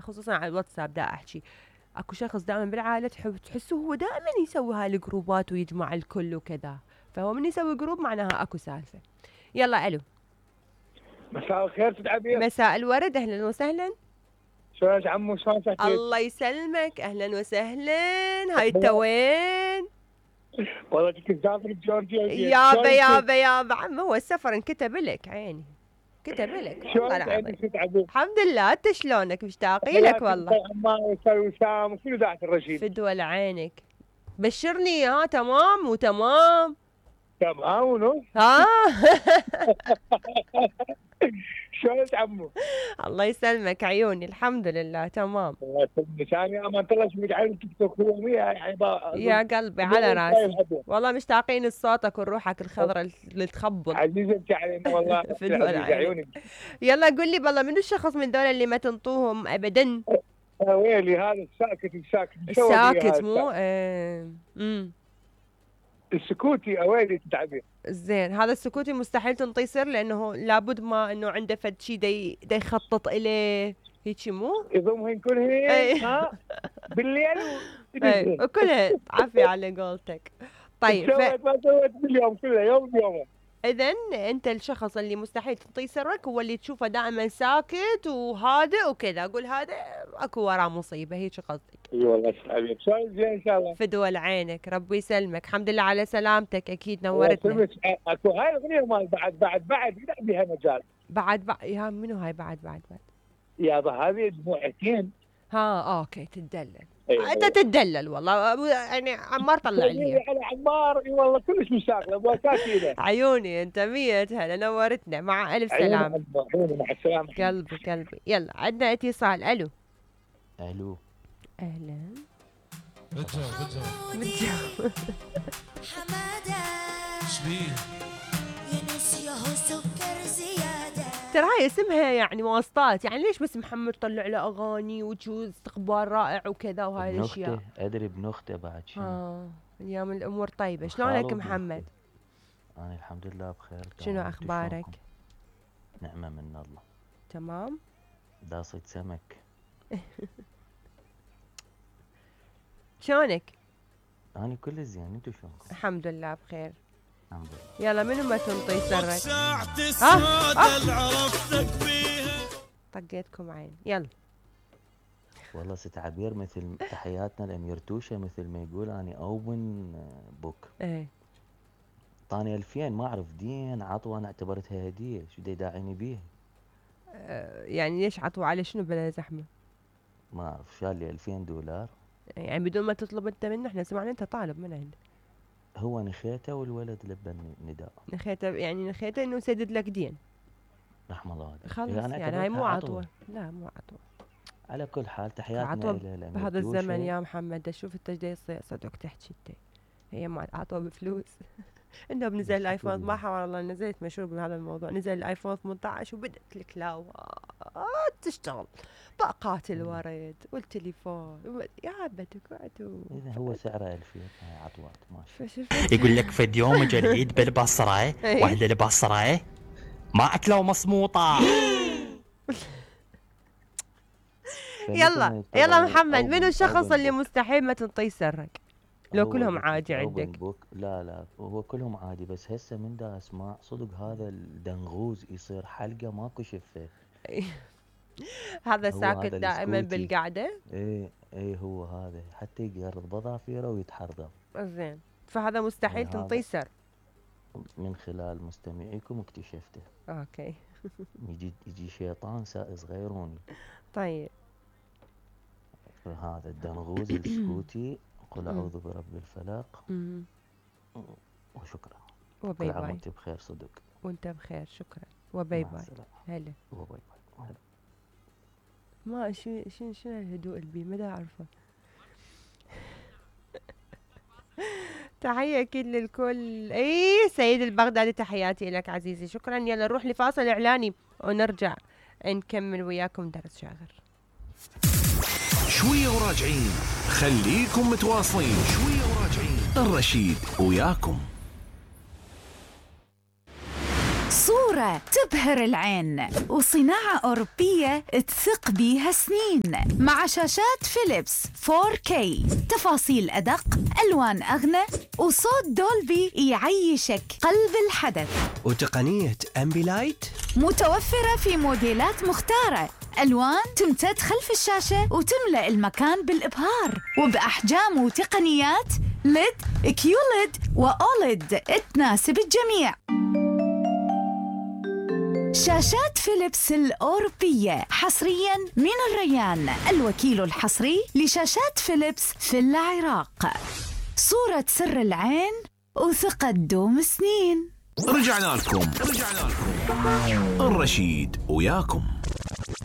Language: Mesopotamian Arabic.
خصوصا على الواتساب دا احكي، اكو شخص دائما بالعائله تحسه هو دائما يسوي هاي الجروبات ويجمع الكل وكذا، فهو من يسوي جروب معناها اكو سالفه. يلا الو. مساء الخير ست عبير. مساء الورد، اهلا وسهلا. شلونك عمو؟ شلون صحتك؟ الله يسلمك، اهلا وسهلا. هاي انت وين؟ والله كنت مسافر بجورجيا. يابا عم، هو السفر انكتب لك عيني، كتب لك والله العظيم. الحمد لله، انت شلونك؟ مشتاقين لك والله. وسام وكل ذات الرشيد. فدوى لعينك. بشرني ها. تمام وتمام. تمام ونص. ها. شلونك عمو؟ الله يسلمك عيوني، الحمد لله تمام. الله يسلمك. انا امان الله شو مقعد تيك توك يوميا يعني يا قلبي على راسي، والله مشتاقين لصوتك وروحك الخضراء اللي تخبل. عزيزتي علينا والله. عيوني. يلا قل لي بالله، منو الشخص من دول اللي ما تنطوهم ابدا؟ ويلي هذا الساكت الساكت مو السكوتي. اويلي تتعبير. زين، هذا السكوتي مستحيل تنطيه سر، لانه لابد ما انه عنده فد شيء دا يخطط اليه هيك مو؟ يضمهن كلهن ها بالليل وكلها عافية على قولتك. طيب ما سويت باليوم كله يوم بيومه. اذا انت الشخص اللي مستحيل تنطيه سرك هو اللي تشوفه دائما ساكت وهادئ وكذا، اقول هذا اكو وراه مصيبه، هيك قصدك؟ اي والله حبيبي. شلون زين ان شاء الله؟ فدوى لعينك، ربي يسلمك. الحمد لله على سلامتك، اكيد نورتنا. اكو هاي الاغنيه مال بعد يقدر بها مجال. بعد يا منو هاي بعد يابا هذه دموعتين. اوكي تدلل. انت تدلل والله، يعني عمار طلع لي على عمار. اي والله كلش مشاغله بوكاتي. عيوني انت 100 هلا، نورتنا. مع الف سلامه. عيوني مع السلامه قلبي. يلا عندنا اتصال. الو. اهلا. بتجاوب حماده شبيه ينسيه سكر زياده. ترى هاي اسمها يعني واسطات، يعني ليش بس محمد طلع له اغاني وجو استقبال رائع وكذا وهاي الاشياء. ادري بنخته بعد شنو. اليوم الامور طيبه. شلونك محمد؟ انا الحمد لله بخير. شنو اخبارك؟ نعمه من الله. تمام. داصيد سمك. شلونك؟ انا كل زين، انتو شلونكم؟ الحمد لله بخير. الحمد لله. يلا منو ما تنطي سرك؟ طقيتكم عين. يلا. والله ست عبير مثل تحياتنا الامير توشه، مثل ما يقول اني اوبن بوك. ايه. طاني 2000 ما اعرف دين عطوه، انا اعتبرتها هديه، شو يداعيني بيها؟ يعني ليش عطوه على شنو بلا زحمه؟ ما اعرف، شال لي $2000 يعني بدون ما تطلب انت منه. احنا سمعنا انت طالب من عنده. هو نخيته والولد لبى النداء. نخيته انه يسدد لك دين. رحم الله والديك. خلص يعني هاي مو عطوه. لا مو عطوه. على كل حال تحياتنا الى بهذا الزمن يا محمد. شوف انت ايش صدق تحكي انت. هي ما عطوه بفلوس. انه بنزل الايفون، ما حول الله نزلت مشهور بهذا الموضوع. نزل الايفون 18 وبدت الكلاوات تشتغل، باقات الورد والتليفون يا بتكعتوا. اذا هو سعره 2000 هاي عطوات ماشي. يقول لك فد يوم اجى العيد بالبصره، واهل البصره ما اكلوا مصموطه. يلا محمد، منو الشخص اللي مستحيل ما تنطي سرك؟ لو كلهم عادي عندك. لا هو كلهم عادي، بس هسه من دا اسمع صدق هذا الدنغوز يصير حلقه ماكو شفه. هذا ساكت دائما بالقعده. ايه هو هذا حتى يقرض بظافيره ويتحرضم. زين، فهذا مستحيل تنطي سر. من خلال مستمعيكم اكتشفته. اوكي. يجي شيطان سائز غيروني. طيب. هذا الدنغوز السكوتي. قل اعوذ برب الفلق. وشكرا. وباي باي. كل عام وانت بخير صدق. وانت بخير، شكرا. وباي باي. هلا. وباي باي. ما شنو الهدوء اللي ما اعرفه. تحية أكيد للكل. سيد البغدادي، تحياتي لك عزيزي، شكرا. يلا نروح لفاصل إعلاني ونرجع نكمل وياكم درس شاغر. شوية وراجعين، خليكم متواصلين. شوية وراجعين، الرشيد وياكم. صورة صورة تبهر العين، وصناعة أوروبية تثق بيها سنين، مع شاشات فيليبس 4K، تفاصيل أدق، ألوان أغنى، وصوت دولبي يعيشك قلب الحدث. وتقنية أمبيلايت متوفرة في موديلات مختارة، ألوان تمتد خلف الشاشة وتملأ المكان بالإبهار، وبأحجام وتقنيات LED، QLED وأوليد تناسب الجميع. شاشات فيليبس الأوروبية حصرياً من الريان، الوكيل الحصري لشاشات فيليبس في العراق. صورة سر العين وثقة دوم سنين. رجعنا لكم الرشيد وياكم.